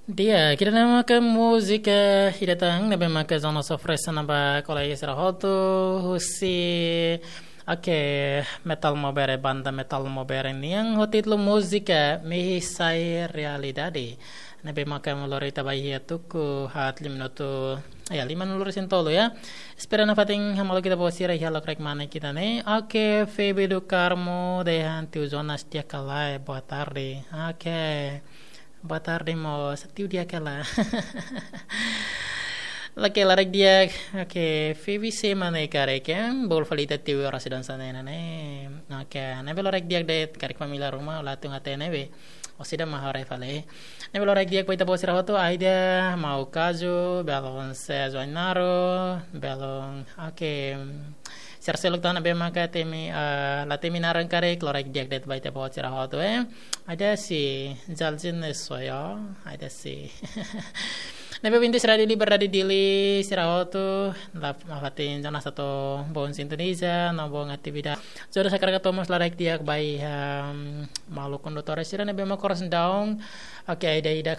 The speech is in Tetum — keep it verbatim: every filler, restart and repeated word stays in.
Di'ak, ida-ne'e maka múzika ida tan ne'ebé maka Zona Sofresa naba kolega sira hotu husi, oke, Metal Maubere, banda Metal Maubere nian ho títulu múzika Mehi Sai Realidade. Ne'ebé maka ema lori ita ba iha tuku haat lima minutu, ya, lima minutu resin tolu ya. Espera nafatin hamutuk ita-boot sira iha lokraik mane ita-nia. Oke, Febe do Carmo dehan tiu Jonas di'ak ka lae, boa tarde. Oke. Boa tarde, mós. Tiu di'ak ka lae. Oke, lokraik di'ak. Oke, Febe se mane kare ken. Bolu fali ita tiu oras dansa ne'e ne'e. Oke, ne'ebé lokraik di'ak de'it karik família ruma, la tun até ne'ebé. Orsida mak haree fali. Ne'ebé lokraik di'ak ba ita-boot sira hotu, Aida, Mau Kazu, belun Sérgio Ainaro, belun, oke, sira seluk tan ne'ebé maka temi, eh, la temi naran karik, lokraik di'ak de'it ba ita-boot sira hotu, eh. Aida si, Jaljin Soyo, Aida si. Ne'ebé ouvinte Rádiu Liberdade Dili, sira hotu, la, nafatin Jonas atu boa sintoniza, no boa atividade. Jonas hakarak atu mós lokraik di'ak ba iha, em, maluk kondutór sira ne'ebé mak oras daudaun. Oke, Aida ida